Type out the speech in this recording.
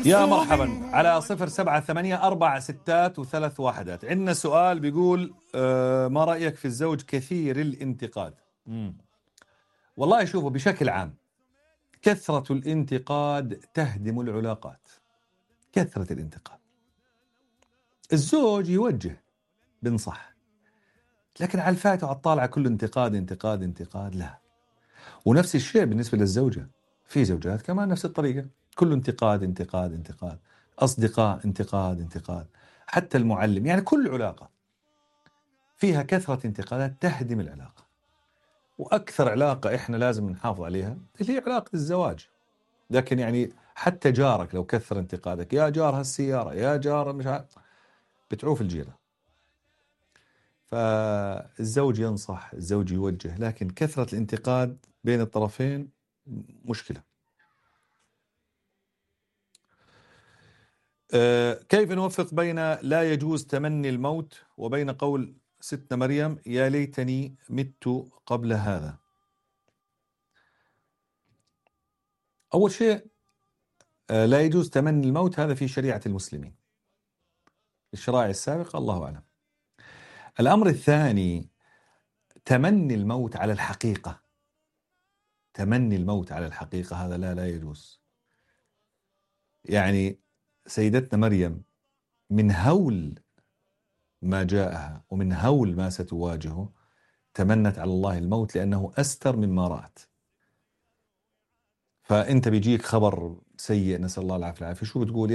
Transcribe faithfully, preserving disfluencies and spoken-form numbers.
يا مرحبا على صفر سبعة ثمانية أربع ستات وثلاث واحدات. عندنا سؤال بيقول آه ما رأيك في الزوج كثير الانتقاد؟ مم. والله شوفوا، بشكل عام كثرة الانتقاد تهدم العلاقات. كثرة الانتقاد، الزوج يوجه بنصح، لكن على الفات وعلى الطالعة كله انتقاد انتقاد انتقاد، لا. ونفس الشيء بالنسبة للزوجة، في زوجات كمان نفس الطريقة، كله انتقاد انتقاد انتقاد، أصدقاء انتقاد انتقاد، حتى المعلم، يعني كل علاقة فيها كثرة انتقادات تهدم العلاقة. وأكثر علاقة إحنا لازم نحافظ عليها اللي هي علاقة الزواج. لكن يعني حتى جارك لو كثر انتقادك، يا جار هالسيارة، يا جار مش عارف، بتعوف الجيرة. فالزوج ينصح، الزوج يوجه، لكن كثرة الانتقاد بين الطرفين مشكلة. أه كيف نوفق بين لا يجوز تمني الموت وبين قول ستنا مريم يا ليتني مت قبل هذا؟ أول شيء أه لا يجوز تمني الموت، هذا في شريعة المسلمين، الشرائع السابقة الله أعلم. الأمر الثاني تمني الموت على الحقيقة، تمني الموت على الحقيقة هذا لا لا يجوز. يعني سيدتنا مريم من هول ما جاءها ومن هول ما ستواجهه تمنت على الله الموت لأنه أستر مما رأت. فأنت بيجيك خبر سيء، نسأل الله العافية، شو بتقول؟